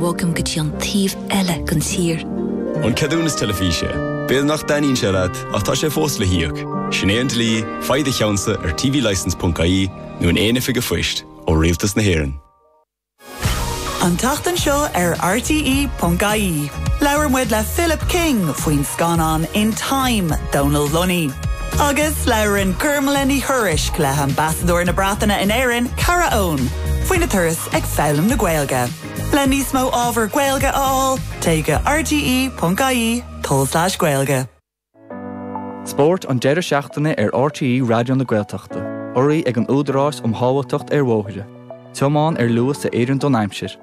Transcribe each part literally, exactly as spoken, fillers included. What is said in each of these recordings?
bhogaim go dtí an taobh eile den tír. An ceadúnas teilifíse, B'fhéidir nach dtaitníonn sé leat ach tá sé fós le híoc. Sin é an dlí faigh do cheannsa ar tvlicence.ie nó in aon oifig phoist ó Rialtas na hÉireann. An tseachtain seo ar RTE.ie. Labhair muid le Philip King faoin scannán In Time Donal Lunny. Agus labhraíonn Gormlaith Ní Thuairisg le hAmbasadóir na Breataine in Éirinn Cara Owen, faoina turas ag foghlaim na Gaeilge. Le níos mó ábhar Gaeilge a fháil, téigh go RTE.ie tulslais Gaeilge. Spórt an deireadh seachtaine ar RTE Raidió na Gaeltachta, urraithe ag an Údarás um Shábháilteacht ar Bhóithre. Tiomáin ar luas a oireann don aimsir.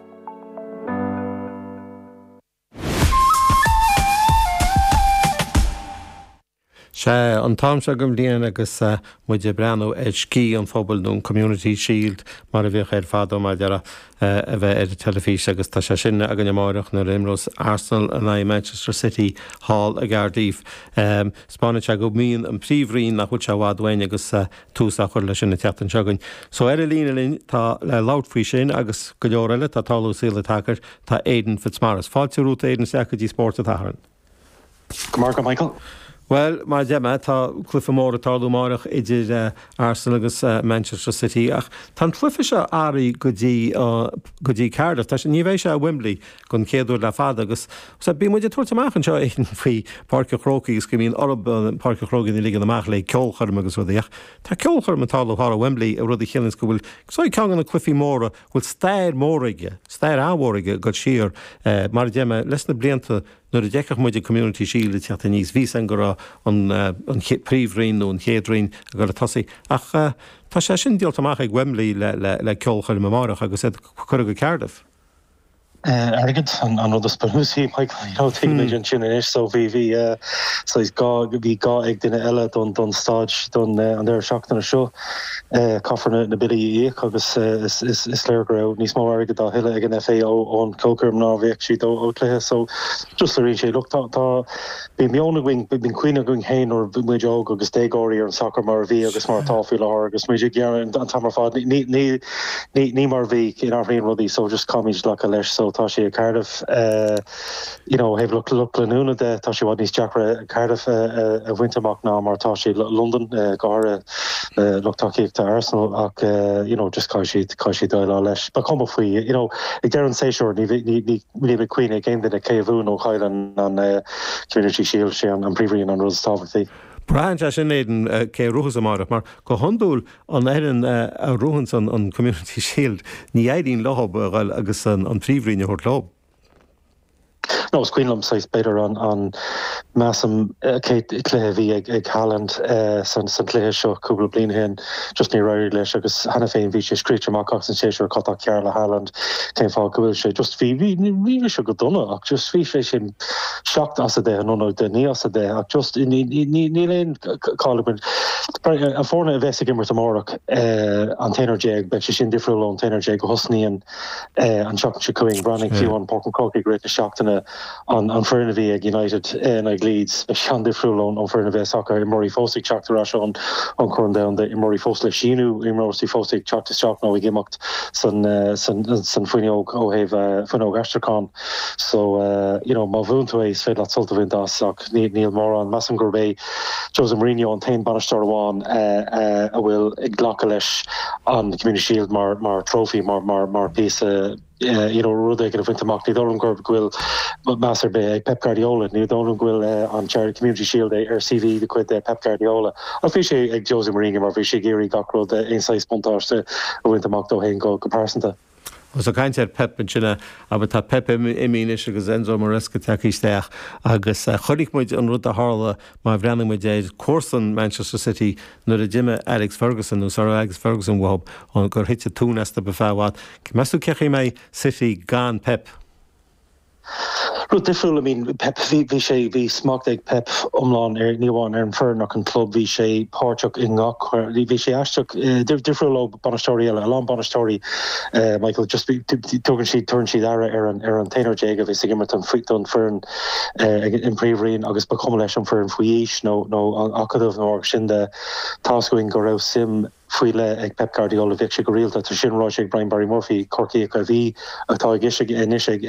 Sé an t-am seo den bhliain agus muid ag breathnú ar Sciath an Phobail nó an Community Shield mar a bhíodh air fadó mar a a bheith ar an teilifís agus tá sé sin againn amárach nuair a imreos Arsenal in aghaidh Manchester City thall i gCardiff. Um, Spáann sé go mbíonn an príomhroinn nach bhfuil sé i bhfad uainn agus uh, tús á chur leis sin an tseachtain seo chugainn. So ar an líne linn tá le labhairt faoi sin agus go leor eile tá tarlú saol tacair tá Aidan Fitzmaurice. Fáilte romhat Aidan isteach go dtí Spórt an tSathairn. Go Michael. Well mar deir mé tá cluiche mór ag tarlú amárach idir uh, Arsenal agus uh, Manchester City ach tá an cluiche seo athraithe go dtí uh, go dtí Cardiff Tá sé ní bheidh sé Wembley don chéad uair le fada agus so bí muid ag amach anseo faoi Páirc an Chrócaigh agus go mbíonn orthu Páirc an Chrócaigh ligean amach le ceolchoirm agus rudaí ach Tá ceolchoirm ag tarlú thar Wembley a rud a chiallaíonn go bhfuil so ceann de na cluichí móra bhfuil stair mór aige stair an-mhór aige go siar uh, mar deir mé leis na blianta nuair a d'fheicfeadh muid Community Shield teacht aníos bhí an go raibh an an príomhroinn nó an chéad roinn a go tosaí ach uh, tá sé sin díolta amach ag Wembley le, le, le ceolchoirm amárach agus é curtha go Cardiff. Uh, airgead an an rud is bunúsaí Michael you know tuigimid hmm. ansin anois so bhí bhí uh, so is gá bhí gá ag duine eile don don staid don uh, an deireadh seachtaine seo uh, caithfear na, na billí a íoc agus uh, is, is, is léir go raibh níos mó airgead á thuilleamh ag an FA ó ón ceolchoirm ná bheadh siad ó ó cluiche so just le sé look tá tá bhí meon againn bíonn cuimhne againn féin nuair bhí muid óg agus déagóirí ar an soccer mar a bhí agus mar atá faoi láthair agus muid ag gearán an t-am ar fad ní ní ní ní mar bhí in athraíonn rudaí so just caithfimid glacadh leis so tá sé Cardiff uh, you know have look look leanúna de tá sé níos deacra Cardiff uh, a bhaint amach ná mar tá sé London uh, go uh, lucht tacaíochta Arsenal ach uh, you know just caithfidh siad caithfidh siad déileáil leis ba chuma faoi you know ag deireadh an séasúir ní ní ní ní bheidh cuimhne ag aon duine cé a bhuaigh nó chaill an uh, Community Shield sé an, an príomhroinn an rud is tábhachtaí. Braitheann sé sin Aidan cé bhuafas amárach mar go hiondúil an fhoireann a bhuann an an Community Shield ní éiríonn leo agus an, an príomhroinn a thabhairt leo. No is cuimhin liom saghas b'fhéidir an an measaim céad cluiche bhí ag ag Haaland uh, san san cluiche seo cúpla bliain ó shin just ní raibh leis agus cheana féin bhí sé scríte amach as an séasúr cad tá cearr le Haaland cén fáth go bhfuil sé just bhí bhí bhí sé go dona ach just bhí sé sin seacht as a deich nó de naoi as a deich ach just níl aon cáil an foirne a bheas ag imirt amárach an t-aon déag beidh sé sin difriúil ón t-aon déag go thosnaíonn an seachtain seo chugainn breathnaigh fiú an Páirc an Chrócaigh rith na seachtaine an an foireann a bhí ag United in ag Leeds beidh sé an-difriúil ón an foireann a bheas acu imreoirí fós ag teacht ar ais ón an Chorn Domhanda imreoirí fós le síniú imreoirí fós ag teacht isteach nó ag imeacht san san san fuinneog ó thaobh fuinneog aistriúcháin so uh, you know má bhuann tú é is féidir leat sult a bhaint as ach níl mórán measaim gurb é Jose Mourinho an t-aon bainisteoir amháin uh, uh, a bhfuil ag glacadh leis an Community Shield mar mar trophy mar mar mar píosa uh, you know rud éigin a bhaint amach ní dóigh liom gur go bhfuil meas ar bith ag Pep Guardiola ní dóigh liom go bhfuil uh, an Charity Community Shield ar CV de chuid Pep Guardiola ach bhí sé ag Jose Mourinho mar bhí sé ag iarraidh gach rud aon saghas buntáiste a bhaint amach dó féin go go pearsanta. Agus ag caint ar Pep ansin aber tá Pep imithe anois agus Enzo Maresca tagtha isteach agus chonaic muid an rud a tharla má bhreathnaigh muid ar cúrsaí Manchester City nuair a d'imigh Alex Ferguson nó sar Alex Ferguson uathu an gur thit tóin astu ar feadh i bhfad. Meas tú cén chaoi a mbeidh City gan Pep. Rud difriúil I mean Pep bhí bhí sé bhí smacht ag Pep iomlán ar ní amháin ar an foireann ach an club bhí sé páirteach i ngach bhí sé aisteach difriúil ó bainisteoirí eile a lán bainisteoirí Michael just tugann siad tugann siad aire ar an ar an t-aon déag a bhí ag imirt an don foireann an príomhroinn agus ba chuma leis an foireann faoi aois nó nó an acadamh nó sin de tá againn go raibh suim faoi leith ag Pep Guardiola bhí sé go rialta tar sin ráite ag Brian Barry Murphy Corcaíoch a bhí atá ag anois ag